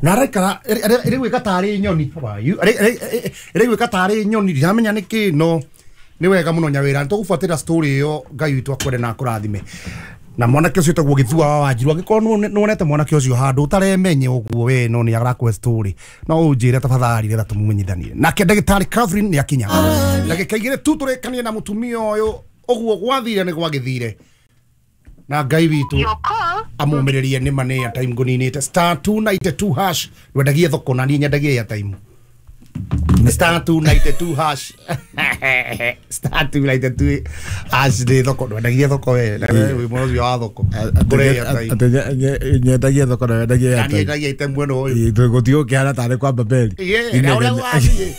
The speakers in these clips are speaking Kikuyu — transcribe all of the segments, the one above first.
Na araikara ĩrĩgwĩka tarĩ nyoni. How are you? Ĩrĩgwĩka tarĩ nyoni, ndiramenya nĩkĩ, no nĩ wega mũno nyawĩra. Nĩtũgũbuatĩrĩra story ĩyo. Ngai witũ akwende na akũrathime. Na mwanake ũcio wĩtagwo Gĩthua wa Wanjiru, angĩkorwo nĩwonete mwanake ũcio handũ ũtaremenye ũguo we, no nĩ arakũhe story, no ũnjĩre tafadhali nĩgetha tũmũmenyithanie. Nake ndagĩtarĩ Catherine nĩ akinya ndagĩka 2 tu tũrĩkanie na mũtumia ũyũ. Ũguo gwathire nĩ gwagĩthire, na Ngai witũ amũmĩrĩrie. Nĩ ma nĩ airtime ngũninĩte. *292#. Ndwendagie thoko na niĩ nyendagie airtime. *292#, *292# nĩ thoko. Ndwendagie thoko we, na we wĩ mwena ũcio wa thoko ngũre airtime. Atĩ nyendagie thoko na wendagie Na niĩ airtime. nyendagie airtime mwena ũyũ. Gũtigũkĩhana tarĩ kwa Babeli. Ĩĩ, na ũrĩa gũgathiĩ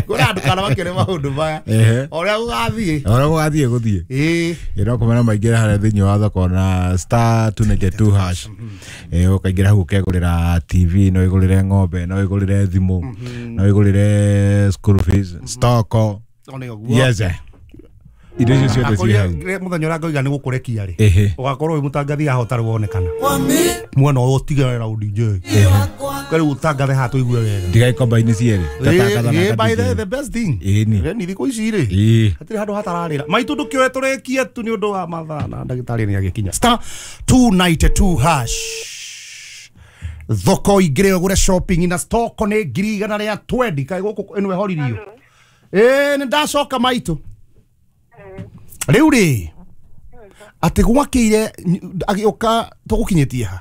kũrĩa ndũkana makĩone maũndũ maya. O ũrĩa gũgathiĩ. Ũrĩa gũgathiĩ gũthiĩ. Ĩ no kũmena maingĩra harĩa thĩinĩ wa thoko na *292#. Ũkaingĩra hau ũkegũrĩra TV, no ĩgũrĩre ng'ombe, no ĩgũrĩre thimũ, no ĩgũrĩre school fees, stoko. O nĩ ũguo. Yes, eh. Indo icio ciothe ciĩ hau. Mũthenya ũrĩa ngoiga nĩ gũkũrekia rĩ, ũgakorwo wĩ mũtangathi haha ũtarĩ wonekana mwena ũyũ, ũtigane na DJ rĩu, ũtangathe haha tũigue wega. Ndigai komba-inĩ cierĩ. Ngatangatha na Ĩĩ, by nga DJ. the best thing. Ĩni. Ĩni thikũ ici rĩ, hatirĩ handũ hatararĩra maitũ. Ndũkĩoe tũrĩkie tu nĩ ũndũ wa mathaa, na ndagĩtarĩ nĩ agĩkinya. *292# thoko, ingĩre ũgũre shopping na stoko nĩ 120,000. Kaĩ gũkũ ĩno ĩhoririo? Ĩĩ, nĩ ndacoka maitũ. Rĩu rĩ, atĩ gwakĩire agĩũka tũgũkinyĩtie ha?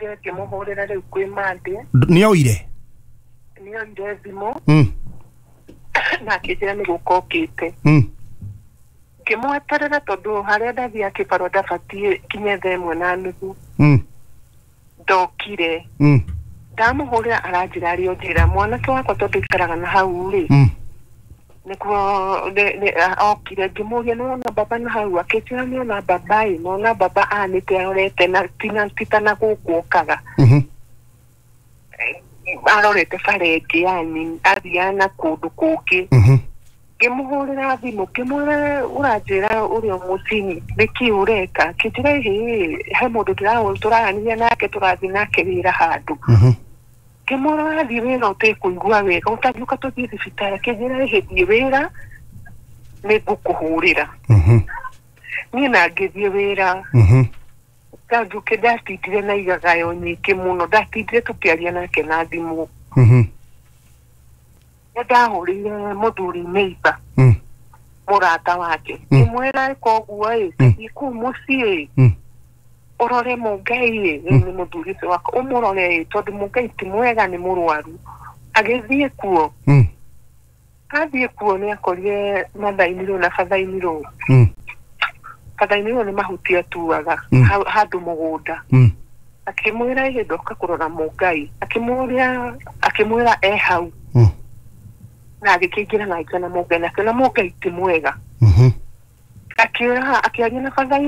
Ngĩmũhũrĩra rĩu kwĩ Monday. Nĩ oire? Nĩ oire thimũ na akĩnjĩra nĩ gũka okĩte. Ngĩmweterera tondũ harĩa ndathiaga kĩbarũa ndabatiĩ kinye 1:30. Ndokire. Ndamũhũrĩra aranjĩra arĩ o njĩra. Mwanake wakwa, tondũ ikaraga na hau rĩ, nĩkuo okire. Ngĩmũria, "Nĩwona baba na hau?" Akĩnjĩra, "Nĩona baba ĩ, nona baba anĩte arorete na tina tita na gũkũ okaga." Arorete bara ĩngĩ, yani athiaga na kũndũ kũngĩ. Ngĩmũhũrĩra thimũ, ngĩmwĩra, "Ũranjĩra ũrĩ o mũciĩ, nĩkĩ ũreka?" Akĩnjĩra, "Ĩhĩ, he mũndũ tũraranĩria nake, tũrathiĩ nake wĩra handũ." Ngĩmwĩra, "Wathiĩ wĩra ũtekũigua wega, ũtangĩũka tũthiĩ thibitarĩ?" Akĩnjĩra, "Ĩhĩ, thiĩ wĩra, nĩ ngũkũhũrĩra." Niĩ na ngĩthiĩ wĩra. Ndanjũke ndatindire na igagayo nyingĩ mũno, ndatindire tũkĩaria nake na thimũ. Nĩ ndahũrĩire mũthuri neighbor, mũrata wake, ngĩmwĩra, "Koguo ĩ, thiĩ kũu mũciĩ ũrore Mũngai ĩ, rĩu nĩ mũthuri ũcio wakwa, ũmũrore ĩ, tondũ Mũngai ti mwega, nĩ mũrwaru." Agĩthiĩ kuo. Athiĩ kuo nĩ akorire mathainirwo na bathainirwo. Bathainirwo nĩ mahuti atuaga handũ mũgũnda. Akĩmwĩra, "Ĩhĩ, ndoka kũrora Mũngai." Akĩmũria, akĩmwĩra e hau, na agĩkĩingĩra na akĩona Mũngai, na akĩona Mũngai ti mwega. Akĩra akĩaria na bathainirwo.